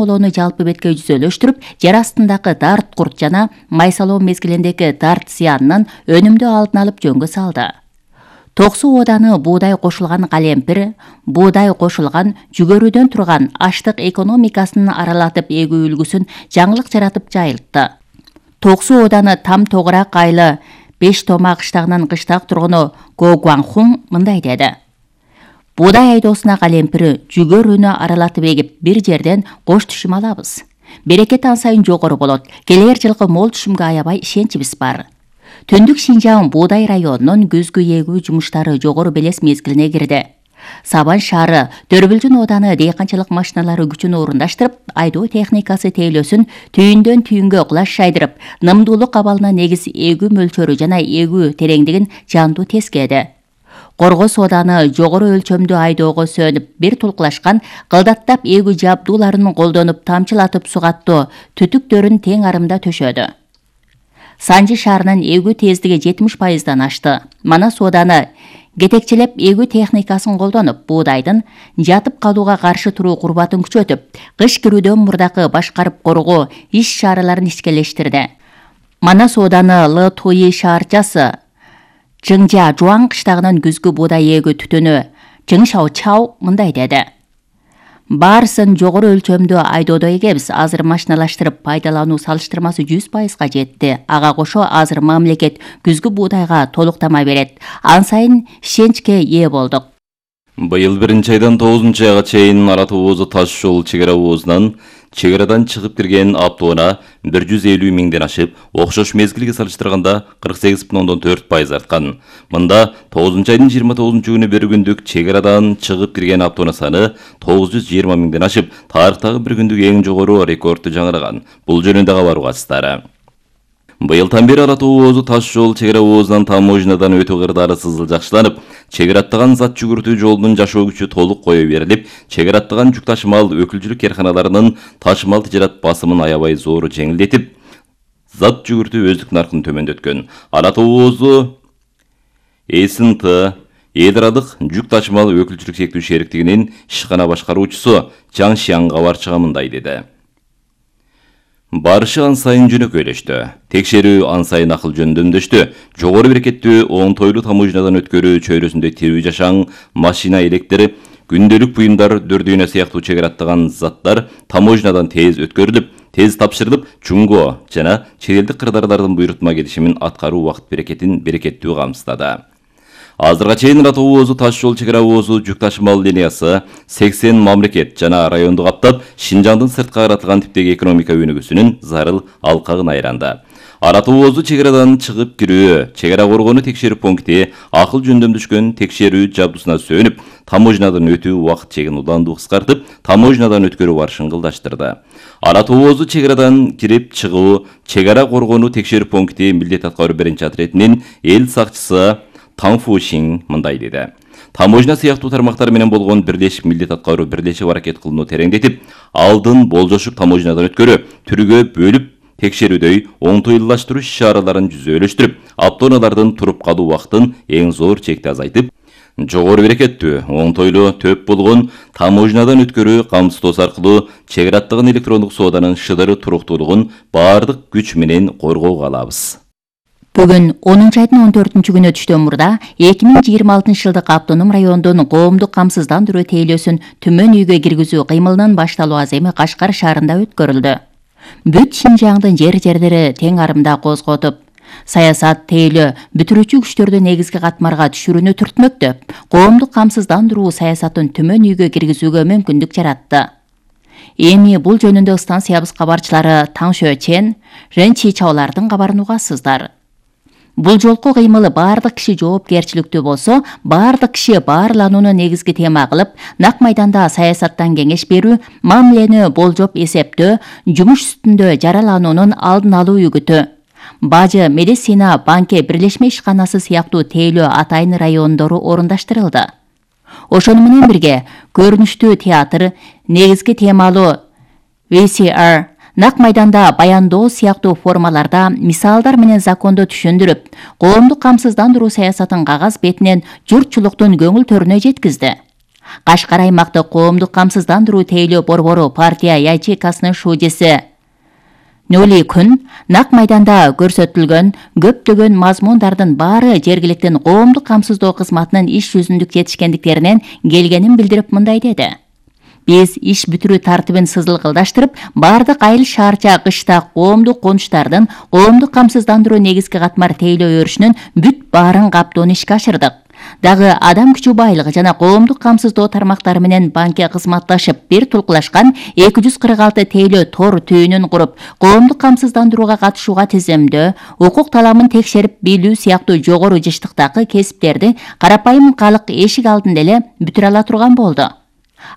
молоону жалпы бетке жүзөлөштүрүп, жер астындагы дарт курт жана майсалоо мезгилиндеги дарт зыянынын өнүмдүү алдын алып жөнгө салды. Токсу ооданы буудай кошулган калемпир, буудай кошулган жүгөрүдөн турган аштык экономикасын аралатып эгүү үлгүсүн жаңылык жаратып жайылтты. Токсу ооданы там тогурак айлы 5 тома кыштагынан кыштак тургуну Го Гуанхун мындай деди. Буудай айдоосуна калемпир жүгөрүнө аралатып эгип бир жерден кош түшүм алабыз. Берекет ан сайын жогору болот. Келер жылкы мол түшүмгө аябай ишеничибиз бар. Түндүк Шинжаң буудай районунун күзгү эгүү жумуштары жогору белес мезгилине кирди. Сабан шаары Төрбүлжүн ооданы дыйканчылык машиналары күчүн орундаштырып, айдоо техникасы тейлөөсүн түйүндөн түйүнгө кулаш шайдырып, нымдуулук абалына негиз эгүү мөлчөрү жана эгүү тереңдигин жандуу тескеди. Коргос ооданы жогору өлчөмдүү айдоого сөнүп, бир тулкулашкан кылдаттап эгүү жабдууларын колдонуп тамчылатып сугаттоо түтүктөрүн тең арымда төшөдү. Санжы шаарынын эгүү тездиги 70%дан ашты. Манас ооданы кетекчелеп эгүү техникасын колдонуп, буудайдын жатып калууга каршы туруу курбатын күчөтүп, кыш кирүүдөн мурдакы башкарып коргоо иш-чараларын ичкелештирди. Манас ооданы Л Туи шаарчасы Жыңжа Жуан кыштагынын күзгү буудай эгүү түтүнү Жыңшау Чау мындай деди. Баарысын жогору өлчөмдүү айдоодо эгебиз. Азыр машиналаштырып пайдалануу салыштырмасы 100%га жетти. Ага кошо азыр мамлекет күзгү буудайга толук тама берет. Ан сайын ишеничке ээ болдук. Быйыл 1-айдан 9-айга чейин Ара Тоозу таш жол чегара оозунан чегарадан чыгып кирген автоунаа 150 миңден ашып, окшош мезгилге салыштырганда 48,4% арткан. Мында 9-айдын 29-күнү бир күндүк чегарадан чыгып кирген автоунаа саны 920 миңден ашып, тарыхтагы бир күндүк эң жогору рекордду жаңыраган. Бул жөнүндө кабар угасыздар. Быйылдан бери Ара Тоозу таш жол чегара оозунан таможнядан өтүү кырдаары сызыл-жакшыланып, чегараттаган зат жүгүртүү жолунун жашоо күчү толук кое берилип, чегараттаган жүк ташымал өкүлчүлүк карканаларынын ташымал тижарат басымын аябай зор жеңилдетип, зат жүгүртүү өздүк наркын төмөндөткөн. Ара Тоозу СНТ эл аралык жүк ташымал өкүлчүлүк шектүү шериктигинин ишкана башкаруучусу Жан Шиан кабарчыга мындай деди. Барышы ан сайын жөнөкөйлөштү. Текшерүү ан сайын акыл жөндөмдөштү. Жогору берекеттүү оңтойлуу таможнядан өткөрүү чөйрөсүндө тирүү жашаң, машина электри, күндөлүк буюмдар, дөрдүйнө сыяктуу чегараттаган заттар таможнядан тез өткөрүлүп, тез тапшырылып, чуңго жана чет элдик кырдаарлардын буйрутма келишимин аткаруу убакыт берекетин берекеттүү камсыздады. Азырга чейин Ара Тоозу таш жол чегара оозу жүк ташымал линиясы 80 мамлекет жана районду каптап, Шинжаңдын сыртка каратылган типтеги экономика өнүгүүсүнүн зарыл алкагын айранды. Ара Тоозу чегарадан чыгып кирүү, чегара коргонуу текшерүү пункти акыл жөндөмдөшкөн текшерүү жабдусуна сөнүп, таможнядан өтүү убакыт чегин уланду кыскартып, таможнядан өткөрүү барышын кылдаштырды. Ара Тоозу чегарадан кирип чыгуу, чегара коргонуу текшерүү пункти милдет аткаруу биринчи отрядынын эл сакчысы Таңфу Шин мындай деди. Таможня сыяктуу тармактар менен болгон бирлешип милдет аткаруу бирлешип аракет кылууну тереңдетип, алдын болжошуп таможнядан өткөрүү, түргө бөлүп текшерүүдөй оңтойлуулаштыруу иш-чараларын жүзөлөштүрүп, автоунаалардын туруп калуу убактын эң зор чекти азайтып, жогору берекеттүү, оңтойлуу төп болгон таможнядан өткөрүү камсыздоосу аркылуу чегараттаган электрондук сооданын шыдыры туруктуулугун баардык күч менен коргоого алабыз. Бүгүн 10-айдын 14-күнү түштөн мурда 2026 жылдык автоном райондун коомдук камсыздандыруу тейлөөсүн төмөн үйгө киргизүү кыймылынын башталуу аземи Кашкар шаарында өткөрүлдү. Бүт Шинжаңдын жер-жерлери тең арымда козготуп, саясат тейлөө бүтүрүүчү күчтөрдү негизги катмарга түшүрүүнү түртмөктөп, коомдук камсыздандыруу саясатын төмөн үйгө киргизүүгө мүмкүндүк жаратты. Эми бул жөнүндө станциябыз кабарчылары Таң Шөчен, Рен Чичаолардын кабарын угасыздар. Бул жолку кыймыл баардык киши жоопкерчиликтүү болсо, баардык киши баарланууну негизги тема кылып, нак майданда саясаттан кеңеш берүү, мамилени болжоп эсептөө, жумуш үстүндө жаралануунун алдын алуу үгүтү. Бажы, медицина, банке, бирлешме ишканасы сыяктуу тейлөө атайын райондору орундаштырылды. Ошону менен бирге көрүнүштүү театр, негизги темалуу VCR, нак майданда баяндоо сыяктуу формаларда мисалдар менен законду түшүндүрүп, коомдук камсыздандыруу саясатын кагаз бетинен журтчулуктун көңүл төрүнө жеткизди. Кашкар аймактык коомдук камсыздандыруу тейлөө борбору партия ячейкасынын шужеси Нөли күн нак майданда көрсөтүлгөн көптөгөн мазмундардын баары жергиликтин коомдук камсыздоо кызматынын иш жүзүндүк жетишкендиктеринен келгенин билдирип мындай деди. Биз иш бүтүрүү тартибин сызылгылдаштырып, бардык айыл шаарча кыштак коомдук конуштардын коомдук камсыздандыруу негизги катмар тейлөө өрүшүнүн бүт баарын каптоону ишке ашырдык. Дагы адам күчү байлыгы жана коомдук камсыздоо тармактары менен банкке кызматташып, бир тулкулашкан 246 тейлөө тор түйүнүн куруп, коомдук камсыздандырууга катышууга тизимдөө, укук таламын текшерип билүү сыяктуу жогору жыштыктагы кесиптерди карапайым калк эшик алдында эле бүтүрө ала турган болду.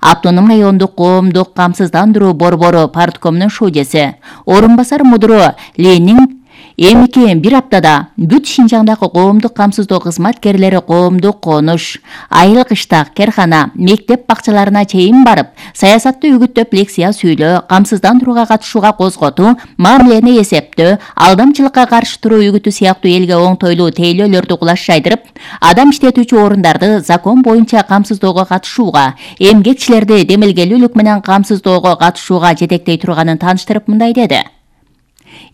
Автоном райондук коомдук камсыздандыруу борбору парткомунун шужеси, орун басар мудуру Ленин эмики бир аптада бүт Шинжаңдагы коомдук камсыздоо кызматкерлери коомдук конуш, айыл кыштак, керкана, мектеп бакчаларына чейин барып, саясатты үгүттөп лекция сүйлөө, камсыздандырууга катышууга козготуу, мамилени эсептөө, алдамчылыкка каршы туруу үгүтү сыяктуу элге оңтойлуу тейлөөлөрдү кулаш жайдырып, адам иштетүүчү орундарды закон боюнча камсыздоого катышууга, эмгекчилерди демилгелүүлүк менен камсыздоого катышууга жетектей турганын тааныштырып мындай деди.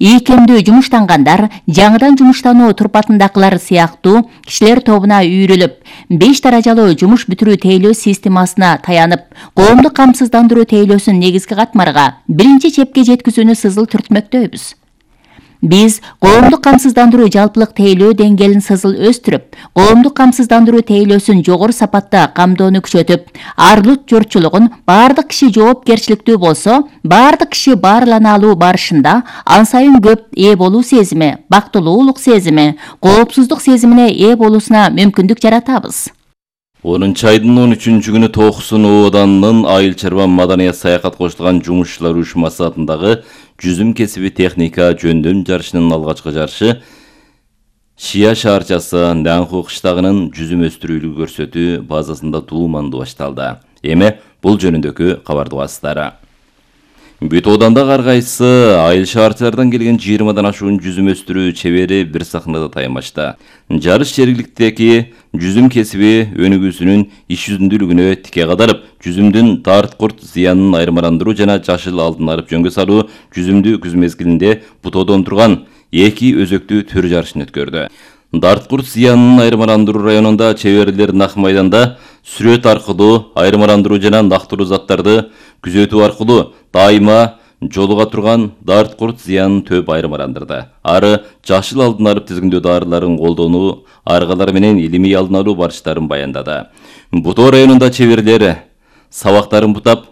Ийкемдүү жумуштангандар, жаңыдан жумуштануу турпатындакылар сыяктуу кишилер тобуна үйрүлүп, 5 даражалуу жумуш бүтүрүү тейлөө системасына таянып, коомдук камсыздандыруу тейлөөсүн негизги катмарга биринчи чепке жеткизүүнү сызыл түртмөктөйбүз. Биз коомдук камсыздандыруу жалпылык тейлөө деңгээлин сызыл өстүрүп, коомдук камсыздандыруу тейлөөсүн жогору сапатта камдоону күчөтүп, арлут жорчулугун бардык киши жоопкерчиликтүү болсо, бардык киши баарлана алуу барышында ан сайын көп ээ болуу сезими, бактылуулук сезими, коопсуздук сезимине ээ болуусуна мүмкүндүк жаратабыз. 10-айдын 13-күнү Токсон ооданынын айыл чарба маданият саякат кошулган жумушчулар уюшмасы атындагы жүзүм кесиби техника жөндөм жарышынын алгачкы жарышы Шия шаарчасы Нанху кыштагынын жүзүм өстүрүүлүгү көрсөтүү базасында тууманды башталды. Эми бул жөнүндөгү кабарды угасыздар. Бүт оодандагы ар кайсы айыл шаарчылардан келген 20дан ашуун жүзүм өстүрүү чебери бир сахнада таямашта. Жарыш жергиликтеги жүзүм кесиби өнүгүүсүнүн иш жүзүндүүлүгүнө тике кадарып, жүзүмдүн дарт курт зыянын айырмаландыруу жана жашыл алдын алып жөнгө салуу жүзүмдү күз мезгилинде бутоодон турган эки өзөктүү төр жарышын өткөрдү. Дарт курт зыянын айырмаландыруу районунда чеберлер нак майданда сүрөт аркылуу айырмаландыруу жана нактылуу заттарды күзөтүү аркылуу дайыма жолуга турган дарт курт зыянын төп айырмаландырды. Ары жашыл алдын алып тизгиндөө дарыларын колдонуу аргалар менен илимий алдын алуу барыштарын баяндады. Бутоо районунда чеберлер сабактарын бутап,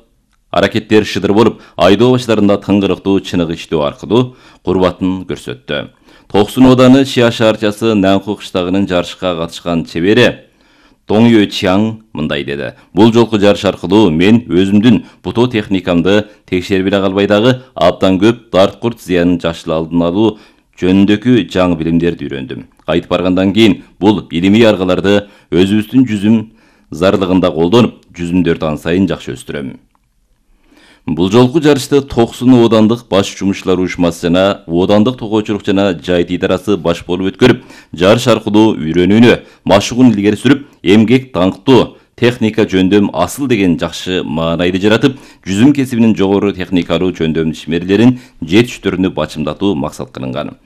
аракеттер шыдыр болуп, айдоо баштарында тыңгырыктуу чынык иштөө аркылуу курбатын көрсөттү. Токсон ооданы Шия шаарчасы Нанху кыштагынын жарышка катышкан чебери Доңё Чаң мындай деди. Бул жолку жарыш аркылуу мен өзүмдүн бутоо техникамды текшербей калбай дагы абдан көп дарт курт зыянын жашыл алдын алуу жөнүндөгү жаңы билимдерди үйрөндүм. Кайтып баргандан кийин бул илимий аргаларды өзүбүздүн жүзүм зарлыгында колдонуп, жүзүмдөрдү ан сайын жакшы өстүрөм. Бул жолку жарышты Токсон оодандык баш жумушчулар уюшмасы жана оодандык тогоочулук жана жайыт идарасы баш болуп өткөрүп, жарыш аркылуу үйрөнүүнү, машыгууну илгери сүрүп, эмгек даңктуу техника жөндөм асыл деген жакшы маанайды жаратып, жүзүм кесибинин жогору техникалуу жөндөм ишмерлерин жетиштөрүнү бачымдатуу максат кылынган.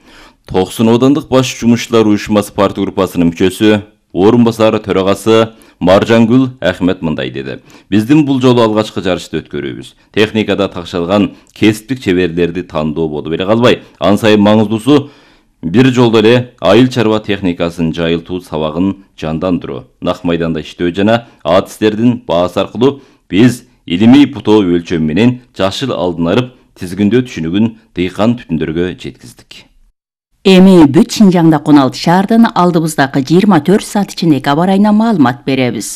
Токсон оодандык баш жумушчулар уюшмасы партия группасынын мүчөсү, орун басар төрагасы Маржангүл Ахмет мындай деди. Биздин бул жолу алгачкы жарышты өткөрүүбүз. Техникада такшалган кесиптик чеберлерди тандоо болуп эле калбай, ан сайын маңыздуусу бир жолдо эле айыл чарба техникасын жайылтуу сабагын жандандыруу, нак майданда иштөө жана адистердин баасы аркылуу биз илимий бутоо өлчөм менен жашыл алдын алып тизгиндөө түшүнүгүн дыйкан түтүндөргө жеткиздик. Эми бүт Шинжаңда 16 шаардын алдыбыздагы 24 саат ичиндеги аба ырайына маалымат беребиз.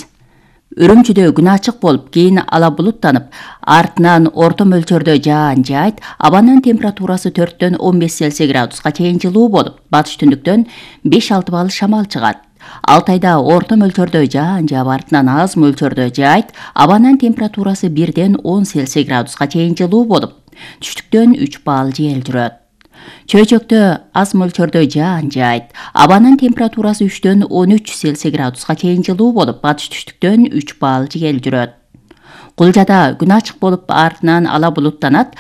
Үрүмчүдө күн ачык болуп, кийин ала булуттанып, артынан орто мөлчөрдө жаан жаайт, абанын температурасы 4-төн 15 Цельсий градуска чейин жылуу болуп, батыш түндүктөн 5-6 балл шамал чыгат. Алтайда орто мөлчөрдө жаан жаап, артынан аз мөлчөрдө жаайт, абанын температурасы 1-ден 10 Цельсий градуска чейин жылуу болуп, түштүктөн 3 балл жел жүрөт. Чөйчөктө аз мөлчөрдө жаан жаайт. Абанын температурасы 3-төн 13 Цельсий градуска чейин жылуу болуп, батыш түштүктөн 3 балл жел жүрөт. Кулжада күн ачык болуп, артынан ала булуттанат.